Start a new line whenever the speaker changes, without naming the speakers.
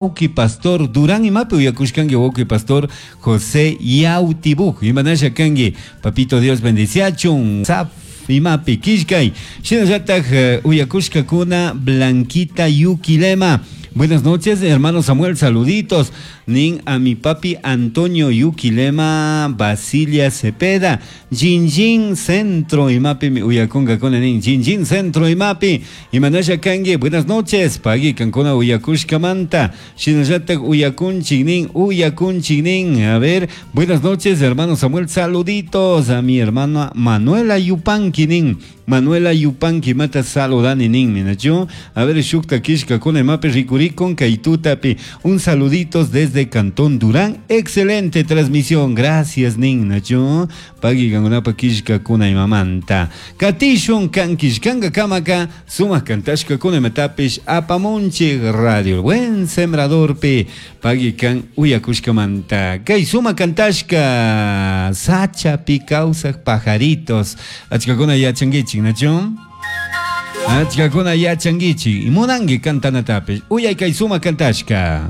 Wauki Pastor Durán imapi uyakushkanki wauki Pastor José Yautibuj imanasha kanki papito Dios bendiciachun Saf imapi killkay shinallataj eh, uyakushkakuna Blanquita Yuquilema. Buenas noches, hermano Samuel, saluditos. Nin a mi papi Antonio Yuquilema Basilia Cepeda. Jinjin Centro imapi mi uyakunkakuna nin. Jinjin Centro imapi. Imanasha kanki. Buenas noches. Pagui kankuna uyakushkamanta. Shinallatak uyakunchik nin. Uyakunchik nin. A ver, buenas noches, hermano Samuel. Saluditos a mi hermana Manuela Yupanqui nin. Manuela Yupanqui mata saludani nin, minachu. A ver, shukta kishkakuna imapi rikurikun kay tutapi. Un saluditos desde Cantón Durán. Excelente transmisión. Gracias nin, nachu. Pagui kankunapa kishkakuna imamanta. Katishun kan kishkanka kamaka sumak kantashkakuna imatapish apamunchik radio. El Buen Sembradorpi pagui kan uyakushkamanta. Kay sumak kantashka sachapi kawsak pajaritos. Achkakuna yachankichik, nachu? Achkakuna yachankichik. Munanki kantanatapish. Uyay kay sumak kantashka.